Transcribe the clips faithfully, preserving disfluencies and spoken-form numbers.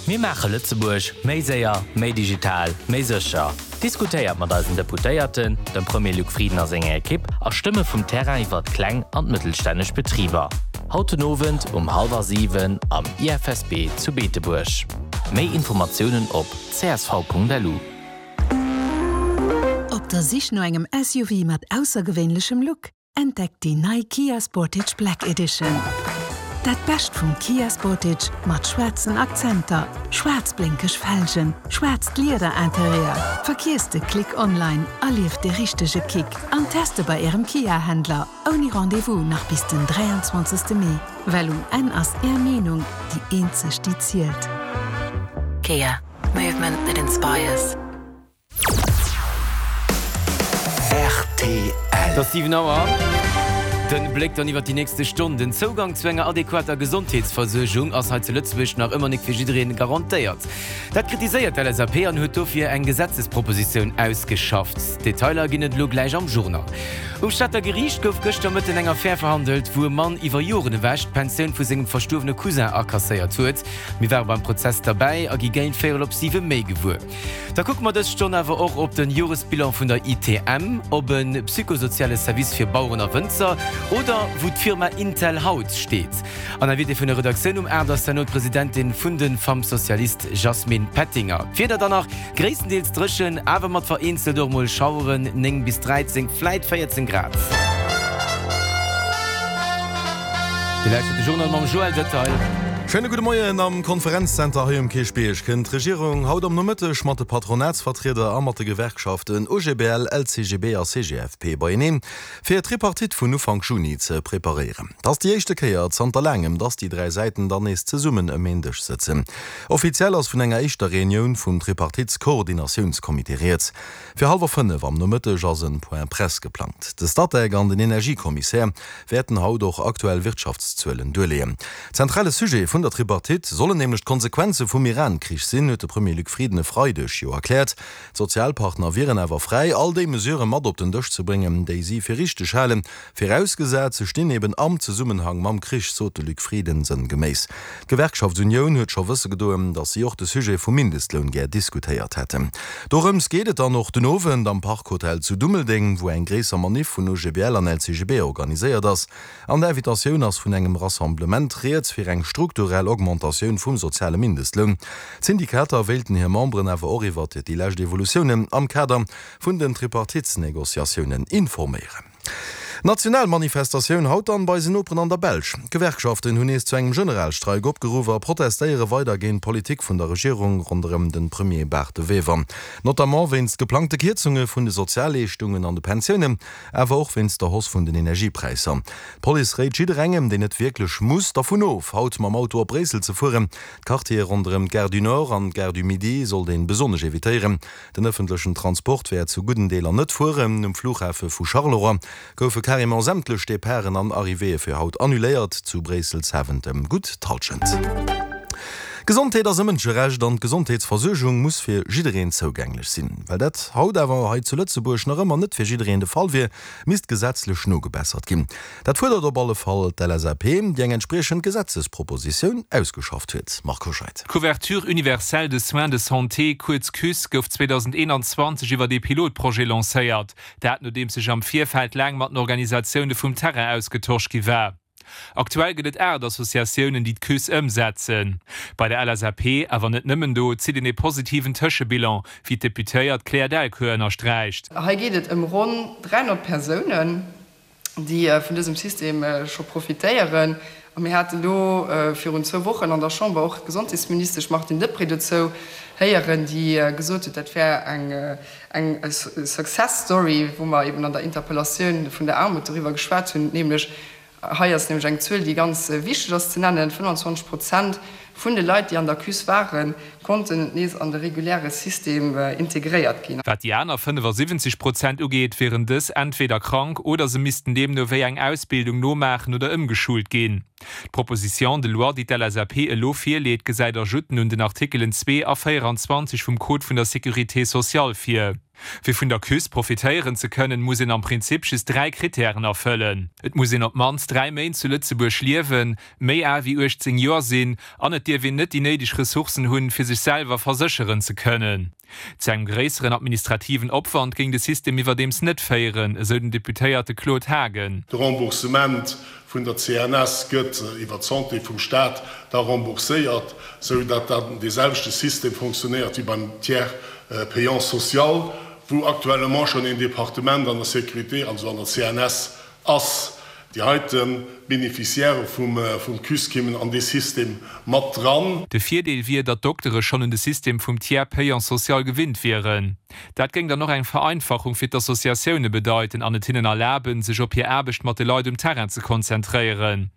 Mir maache Lëtzebuerg méi séier, méi digital, méi sécher. Diskutéiert mat eisen Deputéierten, dem Premier Luc Frieden a senger Ekipp a Stëmme vum Terrain iwwer kleng an mëttelstänneg Betriber. Haut den Owend um hallwer siwen am I F S B zu Beetebuerg. Méi Informatiounen op C S V Punkt L U. Op der Sich no engem S U V mat aussergewéinlechem Look? Entdeckt déi nei Kia Sportage Black Edition. Dat Bescht vum Kia Sportage mat schwaarzen Akzenter, schwaarz blénkeg Felgen, schwaarzt Liederinterieur. Verkiesst de Klick online, erlieft de richtege Kick an teste bei ärem Kia-Händler. Ouni Rendezvous nach bis den dräianzwanzegste Mee. Well um Enn ass är Meenung déi eenzeg, déi zielt. Kia. Movement that inspires. R T L. Et ass siwen Auer. Den Bléck dann iwwer déi nächste Stonn. Den Zougang zu enger adequater Gesondheetsversuergung ass hei zu Lëtzebuerg nach ëmmer net fir jiddereen garantéiert. Dat kritiséiert d'L S A P an huet dofir eng Gesetzespropositioun ausgeschafft. Detailer ginn et elo gläich am Journal. Um Stater Geriicht gouf gëschter Mëtten eng Affär verhandelt, wou e Mann iwwer Joren ewech d'Pensioun vu sengem verstuerwene Cousin akasséiert huet. Mir ware beim Prozess derbäi a gi géint véierel op siwe méi gewuer. Da kucke mer dës Stonn awer och op den Joresbilan vun der I T M, op e psychosoziale Service fir Baueren a Wënzer oder wou d'Firma Intel haut steet. An Invitée vun der Redaktioun um aacht ass dann d'Presidentin vun de Femmes Socialistes Jasmine Pettinger. D'Wieder dann nach gréisstendeels dréchen, awer mat vereenzelt och mol Schaueren, néng bis dräizéng, vläicht véierzéng Grad. Dir lauschtert de Journal mam Joël Detail. Schéine gudde Moien. Am Konferenzzenter hei um Kierchbierg kënnt d'Regierung haut am Nomëtteg mat de Patronatsvertrieder a mat de Gewerkschaften O G B L, L C G B a C G F P beieneen, fir d'Tripartite vun Ufank Juni ze preparéieren. Dat ass déi éischte Kéier zanter laangem, dass déi dräi Säiten dann nees zesummen ëm een Dësch sëtzen. Offiziell ass vun enger éischter Reunioun vum Tripartitskoordinatiounskommitee rieds. Fir hallwer fënnef am Nomëtteg ass en Point Presse geplangt. De Statec an den Energiekommissär wäerten haut och aktuell Wirtschaftszuelen duerleeën. Zentrale Sujet vun der Tripartite sollen nämlech d'Konsequenze vum Iran-Krich sinn, huet de Premier Luc Frieden e Freideg jo erkläert. D'Sozialpartner wieren awer fräi, all déi Mesurë mat op den Dësch ze bréngen, déi si fir richteg halen. Virausgesat, se stinn eben am Zesummenhang mam Krich, sot de Luc Frieden sënngeméiss. D'Gewerkschaftsunioun huet scho wësse gedoen, datt si och de Sujet vum Mindestloun gär diskutéiert hätten. Dorëms geet et dann och den Owend am Parkhotel zu Dummeldeng, wou eng gréisser Manif vun O G B L an L C G B organiséiert ass. An der Invitatioun ass vun engem Rassemblement rieds fir eng strukturell Augmentatioun vum soziale Mindestloun. D'Syndikater wéilten hir Memberen awer och iwwer déi lescht Evolutiounen am Kader vun den Tripartitsnegociatiounen informéieren. National Manifestatioun haut dann bei eisen Noperen an der Belsch. Gewerkschaften hunn nees zu engem Generalstreik opgeruff a protestéiere weider géint d'Politik vun der Regierung ronderëm de Premier Bart De Wever. Notamment wéinst geplangte Kierzunge vun de Sozialleeschtungen an de Pensiounen, awer och wéinst der Hausse vun den Energiepräisser. D'Police réit jidderengem, deen net wierklech muss, dervun of, haut mam Auto op Bréissel ze fueren. D'Quartiere ronderëm d'Gare du Nord an d'Gare du Midi sollt ee besonnesch evitéieren. Den ëffentlechen Transport wäert zu gudden Deeler net fueren. Um Flughafe vu Charleroi goufe carrément sämtlech Departen an Arrivéeë fir haut annuléiert, zu Bréissel Zaventem gutt d'Hallschent. Gesondheet ass e Mënscherecht an d'Gesondheetsversuergung muss fir jiddereen zougänglech sinn. Well dat haut awer hei zu Lëtzebuerg nach ëmmer net fir jiddereen de Fall wier, misst gesetzlech nogebessert ginn. Dat fuerdert op alle Fall d'L S A P, déi eng entspriechend Gesetzespropositioun ausgeschafft huet. Marco Scheid. D'Couverture universelle de soins de santé, kuerz CUSS, gouf zweedausendeenanzwanzeg iwwer e Pilotprojet lancéiert. Dat nodeems sech am Virfeld laang mat den Organisatioune vum Terrain ausgetosch gi war. Aktuell gëtt et aacht Associatiounen, déi d'CUSS ëmsetzen. Bei der L S A P, awer net nëmmen do, zitt een e positiven Tëschebilan, wéi d'Deputéiert Claire Delcourt ënnersträicht. Hei geet et ëm ronn dräihonnert Persounen, déi vun dësem System scho profitéieren. A mir haten do virun zwou Wochen an der Chamber och d'Gesondheetsministesch Martine Deprez dozou héieren, déi gesot huet, dat wär eng eng Success Story, wou mer eben an der Interpellatioun vun der Aarmut doriwwer geschwat hunn, nämlech hei ass nämlech eng Zuel, déi ganz wichteg ass ze nennen, fënnfanzwanzeg Prozent vun de Leit, déi an der CUSS waren, konnten nees an de reguläre System integréiert ginn. Wat déi aner fënnefasiwwenzeg Prozent ugeet, wieren dës entweder krank oder se missten deemno wéi eng Ausbildung nomaachen oder ëmgeschult ginn. D'Proposition de loi, déi d'L S A P elo virleet, gesäit Ajouten un den Artikelen zwee a véieranzwanzeg vum Code vun der Sécurité sociale vir. Fir vun der CUS profitéieren ze kënnen, muss een am Prinzip just dräi Krittären erfëllen, Et muss een op d'mannst dräi Méint zu Lëtzebuerg liewen, méi al wéi uechtzéng Joer sinn an et dierf een net déi néideg Ressourcen hunn, fir sech selwer versécheren ze kënnen. Zu engem gréisseren administrativen Opwand géing de System iwwerdeems net féieren, esou den Deputéierte Claude Haagen. De Remboursement vun der C N S gëtt iwwer d'Santé vum Staat da rembourséiert, sou datt dann dee selwechte System fonctionnéiert wéi beim Tiers payant social, wou actuellement schonn een Departement an der Sécurité, also an der C N S ass. Déi heite Bénéficiairë vum CUS kéimen an dee System mat dran. De Virdeel wier, datt d'Doktere schonn un de System vum Tiers payant social gewinnt wieren. Dat géing dann och eng Vereinfachung fir d'Associatioune bedeiten an et hinnen erlaben, sech op hir Aarbecht mat de Leit um Terrain ze konzentréieren.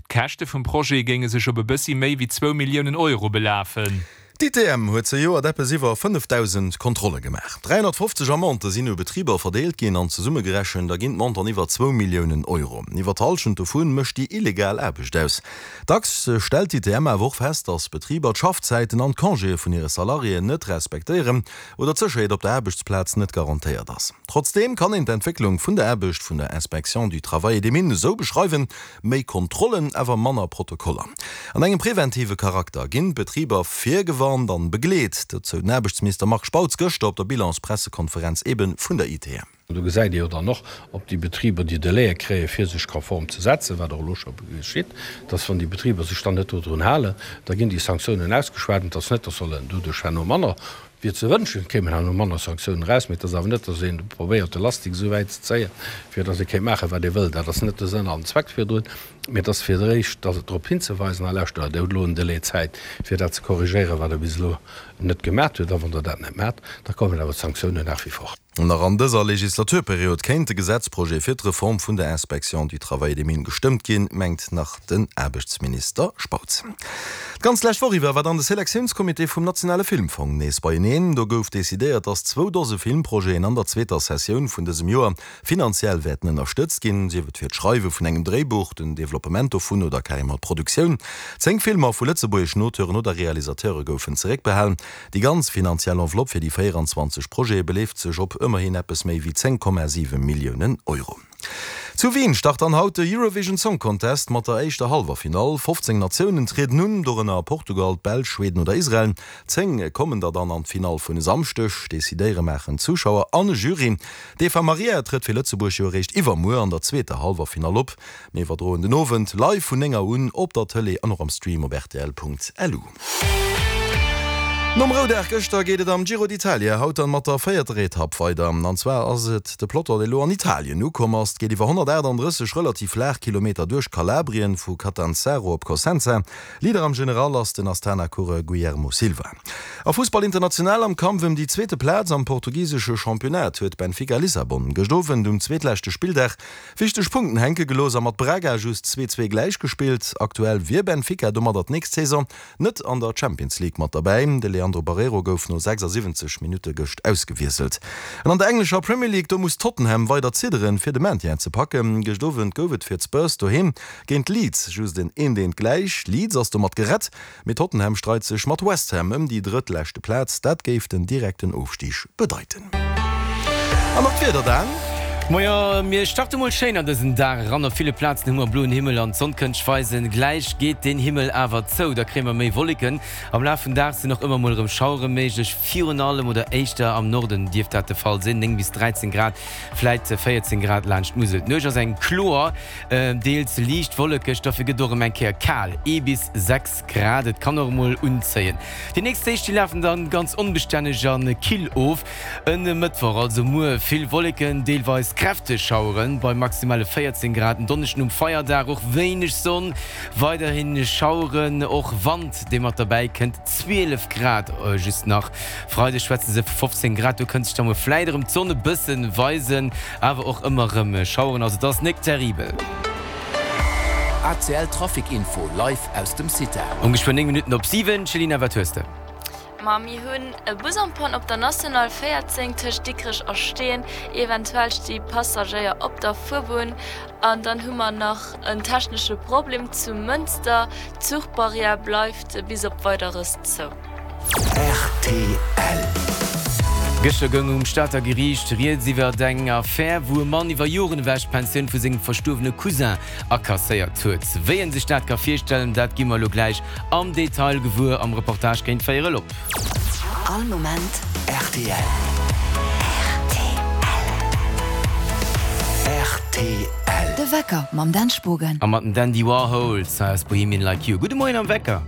D'Käschte vum Projet géinge sech op e bëssi méi wéi zwou Milliounen Euro belafen. D'I T M huet zejoert eppes iwwer fënnefdausend Kontrolle gemaach. dräihonnertfofzeg Amendë sinn u Betriber verdeelt ginn an zesummegerechent erginn d'Montanten iwwer zwou Milliounen Euro. Iwwer d'Hallschent dovu mécht déi illegal Aarbecht aus. Dacks stellt d'I T M awer och fest, datt Betriber d'Schaffzäiten an d'Congéë vun hire Salariéen net respektéieren oder d'Sécherheet op der Aarbechtsplaz net garantéiert ass. Trotzdeem kann een d'Entwécklung vun der Aarbecht vun der Inspection du Travail et des Mines esou beschreiwen, méi Kontrollen, awer manner Protokoller. An engem preventive Charakter ginn d'Betriber virgewarnt an begleet, dat sou den Aarbechtsminister Marc Spautz gëschter op der Bilanspressekonferenz ebe vun der I T M. Do gesäit Dir jo dann och, ob déi Betriber déi Délaië kréie fir sech konform ze setzen, wat och elo scho geschitt, dass wann déi Betriber sech dann net dodrun halen, da ginn déi Sanktiounen ausgeschwat. Et ass net, dass sollen doduerch herno manner, wier ze wënschen, kéimen herno manner Sanktiounen eraus, mee et ass awer net, dass een probéiert de Lastik esou wäit ze zéien, fir dass ee kéint maachen, wat ee wëll. Dat ass net de Sënn an Zweck virdrun, mee et ass fir d'éischt, dass et drop hinzeweisen, a lauschtert, Der hutt elo en Delai Zäit, fir dat ze korrigéieren, wat Der bis elo net gemat hutt, a wann Der dat net maacht, da kommen awer d'Sanktiounen nach wie vor. Nach an dëser Legislaturperiod kéint de Gesetzprojet fir d'Reform vun der Inspection du Travail et des Mines gestëmmt ginn, mengt nach den Aarbechtsminister Spautz. D'ganz lescht Woch iwwer war dann de Selektiounscomité vum nationale Filmfong nees beieneen. Do gouf decidéiert, datt zwou Dose Filmprojeten an der zweeter Sessioun vun dësem Joer finanziell wäerten ënnerstëtzt ginn, sief et fir d'Schreiwe vun engem Dréibuch, den Developpement dovun oder carrément d'Produktioun. Zéng Filmer vu lëtzebuergeschen Auteuren oder Realisateure goufen zeréckbehalen. Déi ganz finanziell Enveloppe fir déi véierenzwanzeg Projete beleeft sech op ëmmerhin eppes méi wéi zéng Komma siwe Milliounen Euro. Zu Wien start dann haut de Eurovision Song Contest mat der éischter Halleffinall. fofzéng Natiounen trieden un, dorënner Portugal, d'Belsch, Schweden oder Israel. Zéng kommen der dann an d'Finall vun e Samschdeg. Decidéiere maachen d'Zuschauer an e Jury. D'Eva Marija trëtt fir Lëtzebuerg jo eréischt iwwermuer an der zweeter Halleffinall op. Mir iwwerdroen den Owend live vun néng Auer un op der Tëlee an och am Stream op R T L Punkt L U. Nom Roudag gëschter geet et am Giro d'Italia haut dann mat der véierter Etapp weider. An zwar ass et de Peloton, deen elo an Italien ukomm ass. Et geet iwwer honnertaachtanddrësseg relativ flaach Kilometer duerch Kalabrien vu Catanzaro op Cosenza. Leader am General ass den Astana-Coureur Guillermo Silva. A Fussball international am Kampf ëm déi zweete Plaz am portugisesche Championnat huet Benfica Lissabon gëscht Owend um zweetleschte Spilldag wichteg Punkten hänke gelooss a mat Braga just zwee zwee gläichgespillt. Aktuell wier Benfica domadder d'nächst Saison net an der Champions League mat derbäi. De Leandro Barreiro gouf no sechsasiwwenzeg Minutte gëscht ausgewiesselt. An an der englescher Premier League, do muss Tottenham weider zidderen, fir de Maintien ze packen. Gëscht Owend gouf et fir d'Spurs doheem géint Leeds just en eent eent gläich. Leeds ass domat gerett, mee Tottenham streit sech mat West Ham ëm déi drëttleschte Plaz. Dat géif den direkten Ofstig bedeiten. An nach d'Wieder dann. Moien, mir starte mol schéin an dësen Dag eran. Op ville Plazen hu mer bloen Himmel an d'Sonn kënnt sech weisen. Gläich geet den Himmel awer zou, da kréie mer méi Wolleken. Am Laf vum Dag sinn och ëmmer mol erëm Schauere méiglech, virun allem oder éischter am Norden dierft dat de Fall sinn. néng bis dräizéng Grad, vläit véierzéng Grad laanscht d'Musel. D'Nuecht ass eng kloer, deels liicht wollekeg, dofir gëtt och erëm eng Kéier kal, ee bis sechs Grad. Et kann och emol unzéien. Déi nächst Deeg, déi lafen dann ganz onbestänneg a kill of. E Mëttwoch, also muer, vill Wolleken, deelweis kräfteg Schaueren bei maximale véierzéng Grad. En Donneschden um Feierdag och wéineg Sonn, weiderhi Schaueren, och Wand dee mat derbäi kënnt, zwielef Grad just nach. Freideg schwätze se vu fofzéng Grad, do kënnt sech da mol vläit erëm d'Sonn e bëssen weisen, awer och ëmmer erëm Schaueren, also et ass nik terribel. A C L Trafic Info live aus dem CITA. Um geschwënn néng Minutten op siwen, Céline, wat hues de? Ma mir hunn e Bus en panne op der National véierzéng tëscht Dikrech a Steeën. Eventuell sti Passagéier op der Fuerbunn. An dann hu mer nach en technesche Problem zu Mënster. D'Zuchbarrière bleift bis op Weideres zou. R T L. Gëschter goung um Stater Geriicht rieds iwwer eng Affär, wou e Mann iwwer Joren ewech d'Pensioun vu sengem verstuerwene Cousin akasséiert huet. Wéi en sech dat ka virstellen, dat gi mer elo gläich am Detail gewuer am Reportage géint véierel op. All Moment rtl. Rtl. De Wecker mam Dan Spogen. A mat dem Dandy Warhols aus Bohemian Like You. Gudde Moien am Wecker.